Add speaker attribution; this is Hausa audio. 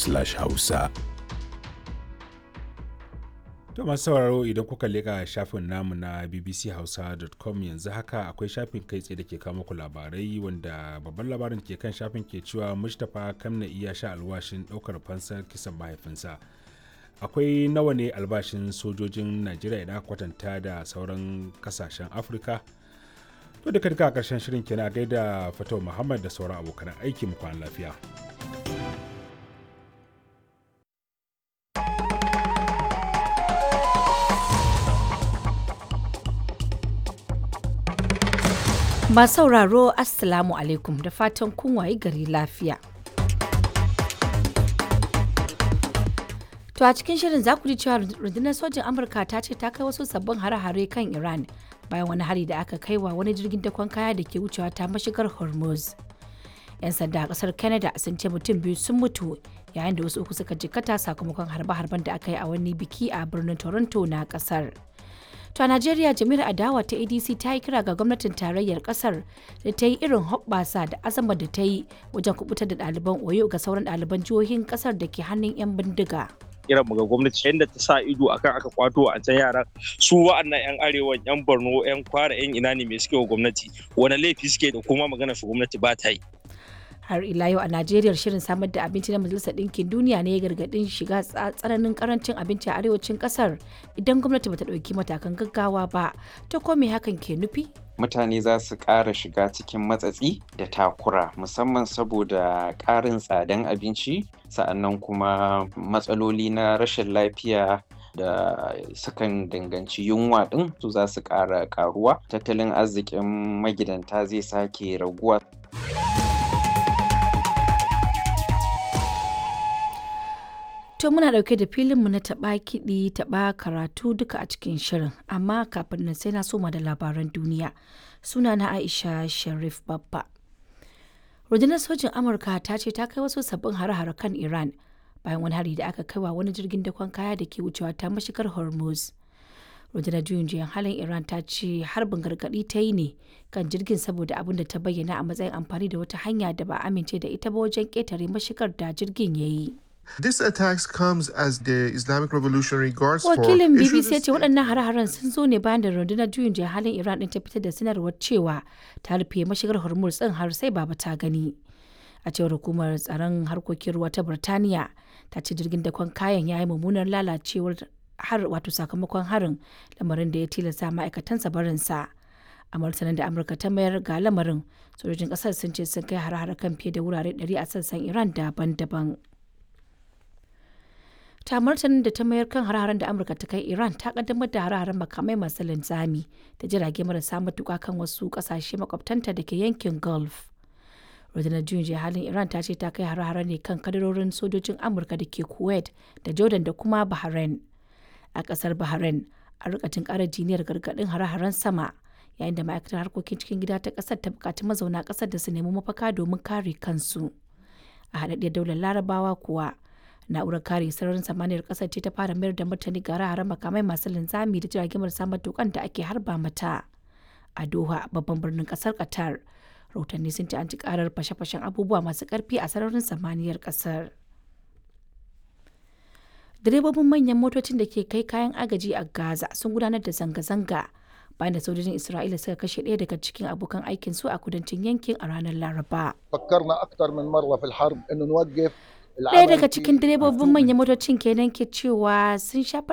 Speaker 1: bbc.com/hausa.
Speaker 2: To masu sauraro, idan kuka leƙa shafin namu na bbchausa.com, yanzu haka akwai shafin kai tsaye da ke kawo muku labarai, wanda babban labarin ke kan shafin ke cewa Mustapha Kamna iya sha alwashin ɗaukar fansar kisan mahaifinsa. Akwai nawa ne albashin sojojin Najeriya idan aka kwatanta da sauran kasashen Afirka? To duka duka a ƙarshen shirin kenan. Gaida Fatau Muhammad da sauran abokan aiki, mu kwana lafiya.
Speaker 3: Masu sauraro, Assalamu alaikum, da fatan kun wayi gari lafiya. To a cikin shirin za ku ji cewa rundunar sojin Amurka ta ce ta kai wasu sabbin hare-hare kan Iran bayan wani hari da aka kai wa wani jirgin dakon kaya da ke wucewa ta mashigar Hormuz. 'Yan sanda a kasar Canada sun ce mutum biyu sun mutu yayin da wasu uku suka jikkata sakamakon harbe-harben da aka yi a wani biki a birnin Toronto na kasar. To a Najeriya, jami'ar adawa ta ADC ta yi kira ga gwamnatin tarayyar kasar da ta yi irin hoɓɓasa da azama da ta yi wajen kubutar da ɗaliban Oyo ga sauran ɗaliban jihohin kasar da ke hannun 'yan bindiga.
Speaker 4: Kiran mu ga gwamnati, yadda ta sa ido akan aka kwato a can yaran su, wa'annan yan arewan, yan Borno, yan Kwara, yan ina ne, me suke wa gwamnati? Wani laifi suke da kuma magana su gwamnati ba ta yi?
Speaker 3: Har ila yau a Najeriya, shirin samar da abinci na Majalisar Ɗinkin Duniya ne ya gargaɗin shiga tsananin karancin abinci a arewacin ƙasar idan gwamnati bata ɗauki matakan gaggawa ba. Ta ko me hakan ke nufi?
Speaker 5: Mutane za su ƙara shiga cikin matsatsi da takura, musamman saboda ƙarin tsadan abinci, sa'annan kuma matsaloli na rashin lafiya da sukan danganci yunwa ɗin su za su ƙara ƙaruwa. Tattalin arzikin magidanta zai sake raguwa.
Speaker 3: To muna ɗauke da filinmu na taɓa kiɗi taɓa karatu duka a cikin shirin, amma kafin nan sai na soma da labaran duniya. Suna na Aisha Sharif Babba. Rundunar sojin Amurka ta ce ta kai wasu sabbin hare-hare kan Iran bayan wani hari da aka kai wa wani jirgin dakon kaya da ke wucewa ta mashigar Hormuz. Rundunar juyin juyan halin Iran ta ce harbin gargaɗi ta yi ne kan jirgin saboda abin da ta bayyana a matsayin amfani da wata hanya da ba a amince da ita ba wajen ƙetare mashigar da jirgin ya yi.
Speaker 6: This attacks comes as the Islamic Revolutionary Guards Force
Speaker 3: Wakilin
Speaker 6: issued
Speaker 3: BBC ya
Speaker 6: a
Speaker 3: ce waɗannan hare-haren sun zo ne bayan da rundunar juyin juya halin Iran ɗin ta fitar da sanarwar cewa ta rufe mashigar Hormuz ɗin har sai baba ta gani. A cewar hukumar tsaron harkokin ruwa ta Birtaniya, ta ce jirgin dakon kayan ya yi mummunar lalacewar har wato sakamakon harin, lamarin da ya tilasta ma'aikatansa barinsa. A martanin da Amurka ta mayar ga lamarin, sojojin ƙasar sun ce sun kai hare-hare kan fiye da wurare 100 a sassan Iran daban-daban. Ta martanin da ta mayar kan hare-haren da Amurka ta kai Iran, ta kaddamar da hare-haren makamai masu linzami da jirage marasa matuka kan wasu kasashe makwabtanta da ke yankin Gulf. Rundunar juyin juya halin Iran ta ce ta kai hare-hare ne kan kadarorin sojojin Amurka da ke Kuwait da Jordan da kuma Bahrain. A kasar Bahrain, a rika kara jiniyar gargadin hare-haren sama, yayin da ma'aikatar harkokin cikin gida ta kasar ta bukaci mazauna kasar da su nemi mafaka domin kare kansu. A haɗaɗɗiyar daular Larabawa kuwa, na'urar kare sararin samaniyar kasar ce ta fara mayar da martani ga hare makamai masu linzami da jiragen marasa matukan da ake harba mata. A Doha, babban birnin kasar Qatar, rahotanni sun ce an ci karar fashe-fashen abubuwa masu karfi a sararin samaniyar kasar. Direbobin manyan motocin da ke kai kayan agaji a Gaza sun gudanar da zanga-zanga bayan da sojojin Isra'ila suka kashe ɗaya daga cikin abokan aikin su a kudancin yankin a ranar Laraba.
Speaker 7: فكرنا اكثر من مره في الحرب انه نوقف.
Speaker 3: Ɗaya daga cikin direbobin manyan motocin kenan ke cewa sun sha faɗa